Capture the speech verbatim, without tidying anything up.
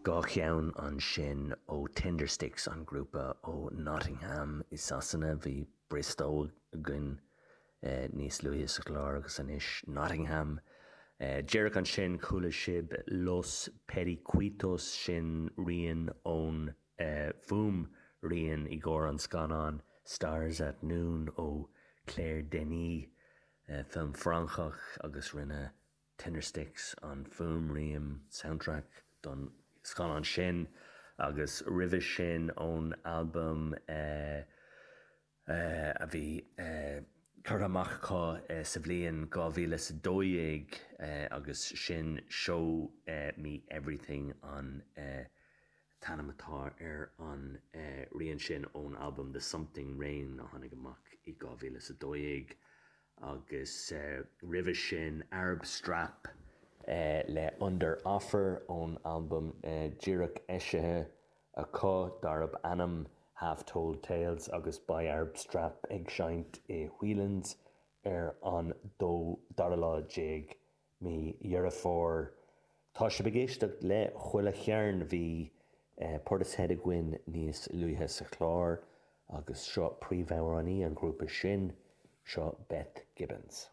Dhá cheann ansin ó Tindersticks, an grúpa ó Nottingham i Sasana. Bhí Bristol againn níos luaithe sa chlár agus anois Nottingham. Díreach ansin chuala sibh Los Periquitos, sin rian ón fuaimrian i gcomhair an scannán Stars at Noon ó Claire Denis, film Francach, agus rinne Tindersticks an fuaimrian, soundtrack, don scannán sin. Agus roimhe sin, ón albam a bhí curtha amach acu sa bhliain dhá mhíle is a dó dhéag agus sin Show Me Everything an t-ainm atá ar an rian sin ón albam The Something Rain a tháinig amach i dhá mhíle is a dó dhéag. Agus roimhe sin, Arab Strap le Under Offer ón albam díreach eisithe acu darb ainm Half Told Tales, agus beidh Arab Strap ag seinnt i Whelan's ar an dara lá déag mí Dheireadh Fómhair. Tá sibh ag éisteacht le Chuile Chearn. Bhí Portishead againn níos luaithe sa chlár agus seo príomhamhránaí an ghrúpa sin, seo Beth Gibbons.